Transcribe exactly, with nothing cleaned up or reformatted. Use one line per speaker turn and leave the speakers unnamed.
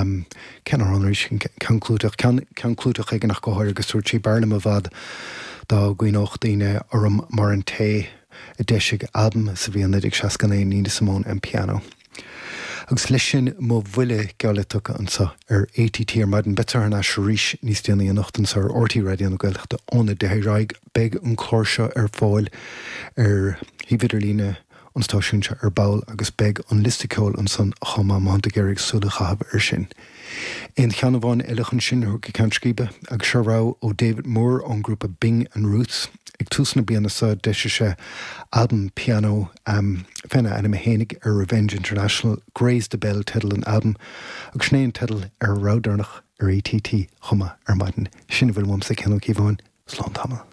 Cén amhrán arís, ceann clúiteach, ceann clúiteach éigin ach go háirithe agus dúirt sí b'fhearr liom i bhfad dá gcuimhneodh daoine orm mar an té a d'eisigh albam sa bhliain naoi déag seasca naoi, Nina Simone and Piano. Agus leis sin mo bhuille geall le tugtha anseo ar ATT ar maidin. Beidh thar n-ais arís níos déanaí anocht anseo ar RTÉ Raidió na Gaeltachta óna deich ar aghaidh. Beidh an clár seo ar fáil ar shuíomh idirlíne an stáisiúin seo ar ball agus beidh an liosta ceoil ansan chomh maith má tá tú ag iarraidh súil a chaitheamh air sin. Aon cheann amháin eile chun sinn a thabhairt go ceann scríbe agus seo rogha ó David Moore ón ngrúpa Bing and Ruth. Ag tús na bliana seo d'eisigh sé albam pianó féna ainm fhéinig ar Revenge International, Graze the Bell teideal an albaim agus sin é an teideal ar an rogha deireanach ar ATT chomh maith ar maidin. Sin a bhfuil uaimse, Cian Ó Cíobháin. Slán tamall.